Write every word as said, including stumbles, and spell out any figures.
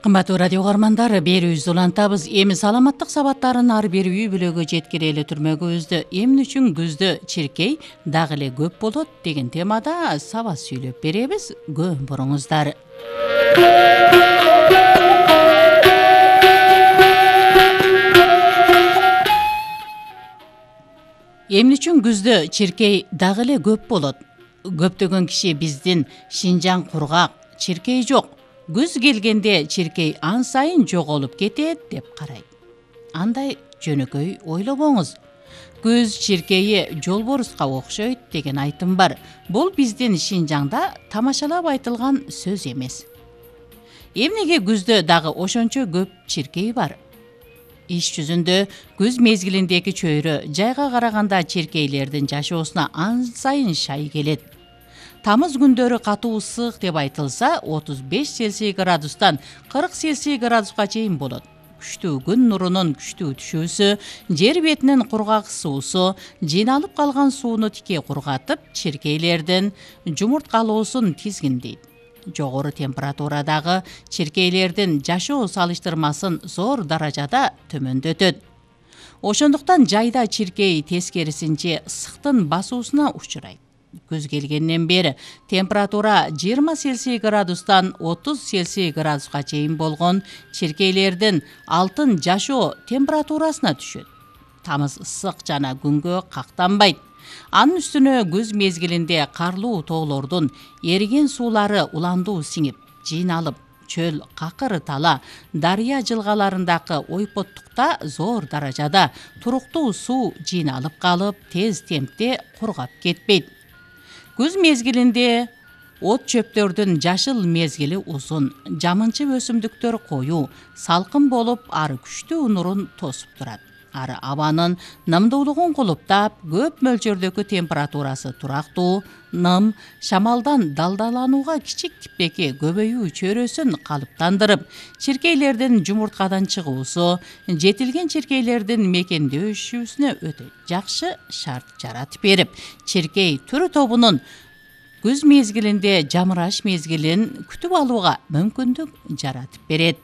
Кымбаттуу радио угармандар, берүүбүздү улантабыз. Эми саламаттык сабаттарын ар бир үй бүлөгө жеткире эле түрмөгүбүздү эмне үчүн күздө чиркей дагы эле көп болот деген темада сабат сүйлөп беребиз. Көп буруңуздар. Эмне үчүн күздө чиркей дагы эле көп болот? Көптөгөн киши биздин Шинжаң кургак, чиркей жок. Күз келгенде чиркей ан сайын жоголуп кетет деп карайт. Андай жөнөкөй ойлобоңуз. Күз чиркейи жолборуска окшойт деген айтым бар. Бул биздин Шинжаңда тамашалап айтылган сөз эмес. Эмнеге күздө дагы ошончо көп чиркей бар? Иш жүзүндө күз мезгилиндеги чөйрө жайга караганда чиркейлердин жашоосуна ан сайын шай келет. Тамыз күндөрү катуу ысык деп айтылса, отуз беш Цельсий градустан кырк Цельсий градуска чейин болот. Күчтүү күн нурунун күчтүү түшүүсү, жер бетинин кургак суусу, жыйналып калган сууну тике кургатып, чиркейлердин жумурткалоосун тизгиндейт. Жогору температурадагы чиркейлердин жашоо салыштырмасын зор даражада төмөндөтөт. Ошондуктан жайда чиркей тескерисинче ысыктын басуусуна учурайт. Күз келгенден бери температура жыйырма Цельсий градустан отуз Цельсий градуска чейин болгон чиркейлердин алтын жашоо температурасына түшөт. Тамыз ысык жана күнгө кактанбайт. Анын үстүнө күз мезгилинде карлуу тоолордун эриген суулары уландуу сиңип, жыйналып, чөл, какыр тала, дарыя жылгаларындагы ойпоттукта зор даражада туруктуу суу жыйналып калып, тез темпте кургап кетпейт. Күз мезгилинде от чөптөрдүн жашыл мезгили узун, жамынчы өсүмдүктөр коюу, салкын болуп, ары күчтүү нурун тосуп турат. Ары абанын нымдуулугун кулуптап, көп мөлчөрдөгү температурасы турактуу, ным, шамалдан далдаланууга кичик типпеки көбөйүү чөйрөсүн калыптандырып, чиркейлердин жумурткадан чыгуусу, жетилген чиркейлердин мекендешүүсүнө өтө жакшы шарт жаратып берип, чиркей түрү тобунун күз мезгилинде жамыраш мезгилин күтүп алууга мүмкүндүк жаратып берет.